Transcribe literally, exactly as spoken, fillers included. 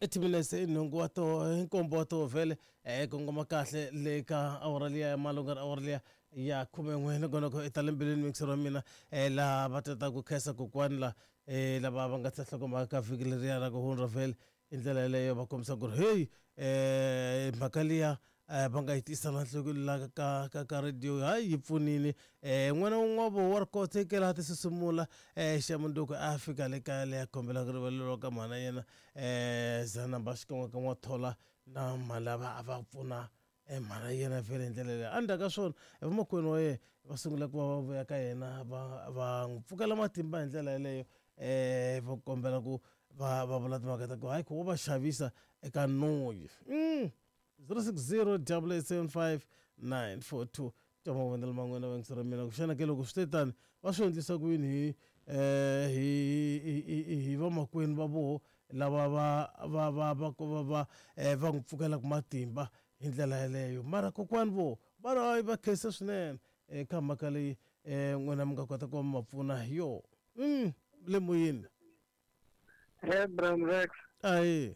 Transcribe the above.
I timinetse i nhungu wa to nkombo wa to vhele um kongoma kahle le ka awara liya ya malunga awara liya ya khumen'we nongonoko i ta le mbilwini mixer wa mina um laha va tata ku khensa kokwani la um lava va nga tsa nhlokomhaka ka vhiki leriya ra ku hundza vhele hi ndlela yeleyo va kombisa ku ri heyi um mhaka liya um va nga yi tisa la nhlokweni la ka ka ka radio hayi yi pfunile um n'wana wun'we wa voho wa ri koteke laha ti susumula um xa mundzuku a fika le kaya leyi a kombelaka rivalelo ka mhana yena um zanamba xikan'we ka n'wathola na mhani lava a va pfuna mhana yena vhele hi ndlela leyi endzhaku ka swona vamakwenu wa yena va sungula ku va va vuya ka yena va va n'wi pfukela matimba hi ndlela yeleyo um va kombela ku va va vula timhaka ta ku hayi ku wo va xavisa eka noyi mm. zero six zero double eight seven five nine four two twa mavonelo man'wana va ra mina ku xana ke loko swi te tani va swi endlisa ku yini hi eh hi hi hi vamakwenu va voho lava va va va va va va eh va n'wi pfukelaka matimba hi ndlela yeleyo mara kokwani vo va ri hayi va khensa swinene eka mhaka leyi um n'wina mi nga kota ku va mi va pfuna hi yona mm le moyeni Hey, Brown Rex. ahi.